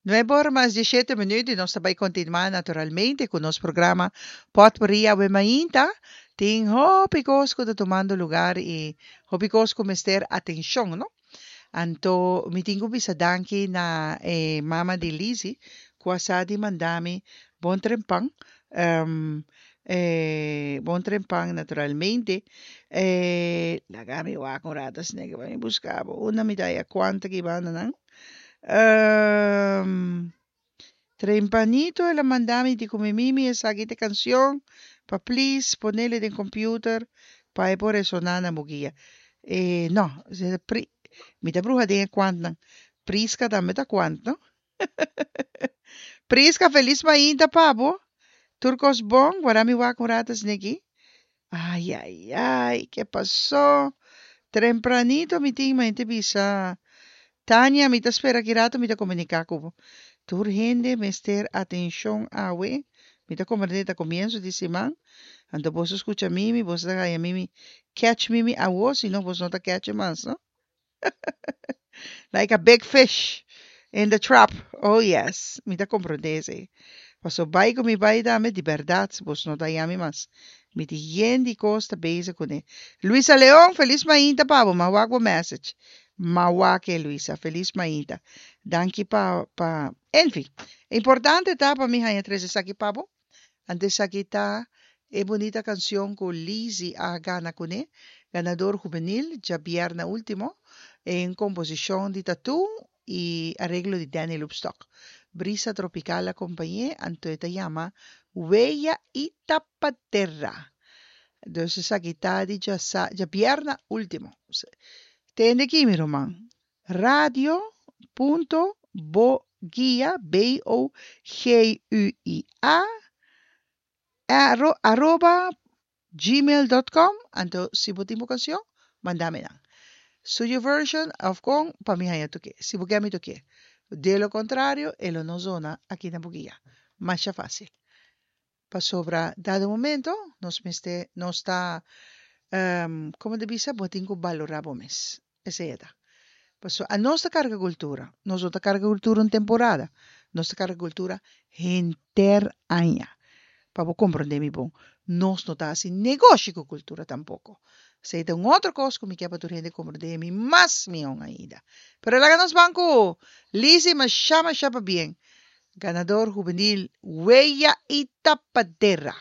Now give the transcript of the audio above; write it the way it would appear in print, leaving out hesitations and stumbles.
Nuebe ora mas dieshete minuut y nos ta bay continua naturalmente cu nos programa Potpourri Awe Mainta. Tin hopi cos cu ta tumando lugar y hopi cos cu mester atencion, no? Anto mi tin cu bisa danki na e mama di Lizzy cu a sa di manda mi bon trempan. Bon trempan naturalmente. Laga mi wak un rato asina pa mi busca bo. Unda mi ta haya cuanto ki bandanan. Trempanito el a manda mi di ku mi mimi esaki ta e kanshon pa please ponele den computer pa e por resoná na bo guia. E no, pri, mi ta bruha den e kuantnan. Prisca tambe ta kuant, no? Prisca, felis mainta pa bo. Tur kos bon, guarda mi wak un rato esneki. Ai, ai, ai, ke pasó? Trempranito mi tin mente bisa, Tania, mi ta spera ki rato mi ta komuniká ku bo. Tur hende mester atenshon awe. Mi ta komprendé ta komienso di siman. Anto boso skucha mimi, boso ta haña mimi catch mimi awo, si no boso no ta catch e mas, no? Like a big fish in the trap. Oh yes, mi ta comprende esey. Paso bai cu mi bai tambe, di berdad, bos no ta yami mas. Mi tin yen di cos ta bezig cune. Luisa Leon, feliz mainta pa bo. Ma wak bo message. Ma wak e, Luisa. Feliz mainta. Danki pa, pa, enfin. Importante ta pa mi haña tres esaki pa bo. Anto esaki ta e bunita cancion cu Lizzy a gana cune, ganador hubenil djabièrnè ultimo, en composicion di Tattoo y areglo di Danny Loopstok. Brisa Tropical a compañ'é, anto e ta yama Weya y Tapadera. Dus esaki ta di djabièrnè ultimo. Tende aki mi ruman, Radio punto boguia, B-O-G-U-I-A, arroba gmail dot com, anto si bo tin bo cancion, manda mi nan. Studio version of con pa mi haña toke. Si bo ke mi toke. De lo contrario, e lo no zona aki na Boguia. Masha facil. Pasobra dado momento nos mester, nos ta, como ta bisa, bo tin cu balora bo mes. Esei e ta. Pasobra anos ta karga kultura. Nos no ta karga kultura un temporada. Nos ta karga kultura henter aña. Pa bo komprondé mi bon, nos no ta hasi negoshi ku kultura tampoko. Esei ta un otro kos ku mi ke pa tur hende komprondé mi mas mihó ainda. Pero laga nos ban ku Lizzy masha masha pabien. Ganador hubenil Weya i Tapadera.